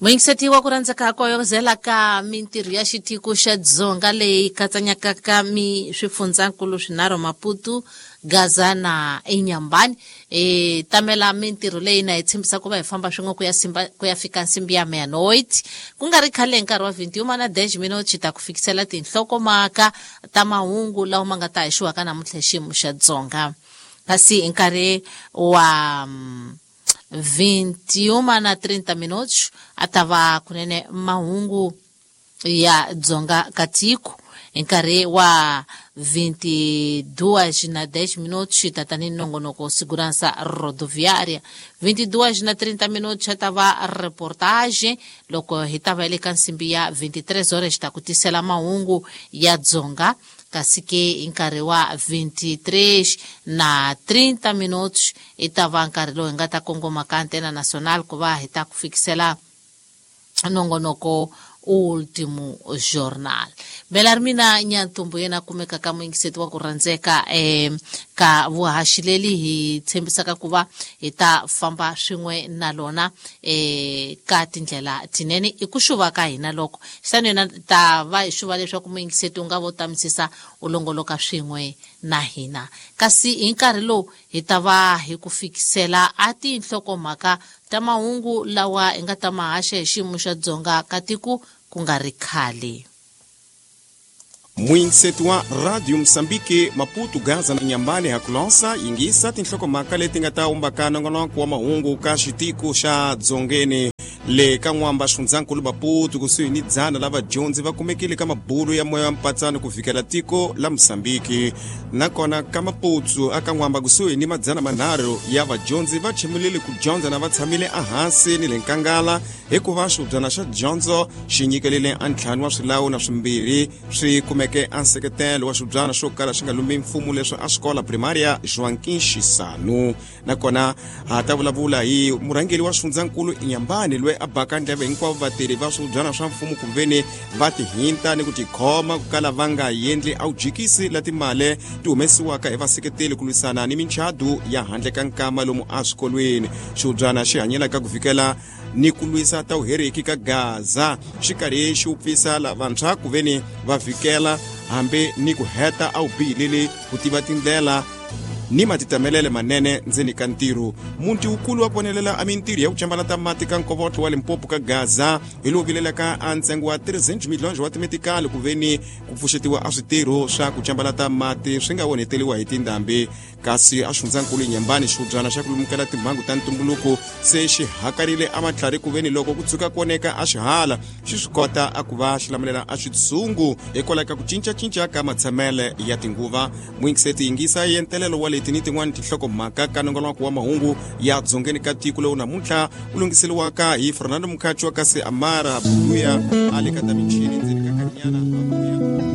Muyingiseti wa ku rhandzeka ko yozela ka mintirho ya xitiko xa Dzonga leyi katsanyaka ka mi swifundzankulu swinharhu Maputo, Gaza na Inhambane. E tamela mintirho leyi na hi tshembisa ku va hi famba swin'we ku ya simba ku ya fika nsimbi ya meia-noite. Ku nga ri khale hi nkarhi wa 21 na 10 minutos ta ku fikisela tinhlokomhaka ta mahungu lawa ma nga ta haxiwaka namuntlha hi xiyimo xa Dzonga. Kasi hi nkarhi wa 21 na 30 minutos a ta va kunene mahungu ya Dzonga ka tiko. Hi nkarhi wa 22 na 10 minutos ta tani nongonoko Segurança Rodoviária. 22 na 30 minutos ta va reportage loko hi ta va le ka nsimbi ya 23 horas ta ku tisela mahungu ya Dzonga. Kasi ke hi nkarhi wa 23 na 30 minutos i ta va nkarhi lowu hi nga ta kongoma ka Antena Nacional ku va hi ta ku fikisela nongonoko Último Jornal. Bela ri mina Nyantumbu yena kumeka ka muyingiseti wa ku rhandzeka ka vuhaxi leli hi tshembisaka ku va hi ta famba swin'we na lona ka tindlela tinene i ku xuva ka hina loko xitani yena ta va hi xuva leswaku muyingiseti u nga vo tamisisa u longoloka swin'we na hina. Kasi hi nkarhi lowu hi ta va hi ku fikisela a tinhlokomhaka ta mahungu lawa hi nga ta ma haxa hi xiyimo xa Dzonga ka tiko ku nga ri khale. Muyingiseti wa Radio Mosambiki Maputo, Gaza na Inhambane hakulosa yingisa tinhlokomhaka leti nga ta umbaka nongonoko wa mahungu ka xitiko xa Dzongeni. Le ka n'wamba xifundzankulu Maputo kusuhi ni 100 la vadyondzi va kumekile ka mabulu ya moya wa mpatsano ku fikela tiko la Mosambiki. Nakona ka Maputo aka n'wamba kusuhi ni 300 ya vadyondzi va chimulile ku dyondza na va tshamile ehansi ni le nkangala hikuva xihubyana xa dyondzo xi nyikelile a ntlhanu wa swilawu na swimbirhi swi kumeke a nseketelo wa xihubyana xo kala xi nga lumbi mfumo leswi a xikola primaria Joaquim Chissano. Nakona ha ta vulavula hi murhangeri wa xifundzankulu Inhambane loyi a baka ndleve hinkwavo vatirhi va swihubyana swa mfumo kumveni va tihinta ni ku tikhoma ku kala va nga endli a wujikisi la timali ti humesiwaka hi vaseketeli ku lwisana ni minchadu ya handle ka nkama lomu eswikolweni. Xihubyana xi hanyelaka ku fikela ni ku lwisa ta vuheriki ka Gaza xi karhi xi wupfisa lavantshwa ku veni va vhikela hambi ni ku heta a wu bihileli ku tiva tindlela ni matitamelele manene ndzeni ka ntirho. Muti wukulu wa vonelela a mintirho ya ku cambalata mati ka nkovotlo wa Limpopo ka Gaza hi lowu vilelaka a ntsengo wa 300 miliyoni wa timetikali ku veni ku pfuxetiwa a switirho swa ku cambalata mati swi nga onheteliwa hi tindhambi. Kasi a xifundzankulu Inhambane xihubyana xa ku lumukela timhangu ta ntumbuluko se xi hakarile a matlhari ku veni loko ku tshuka ku oneka a xihala xi swi kota a ku va xi lamulela a xitshungu hikwalaho ka ku cincacinca ka matshamele ya tinguva. Muyingiseti yingisa yentelelo wa leti ni tin'wani tinhlokomhaka ka nongonoko wa mahungu ya dzongeni ka tiko lowu namuntlha wu lunghiseriwaka hi Fernando Mukhacho kasi Amara Buya a le ka ta michini.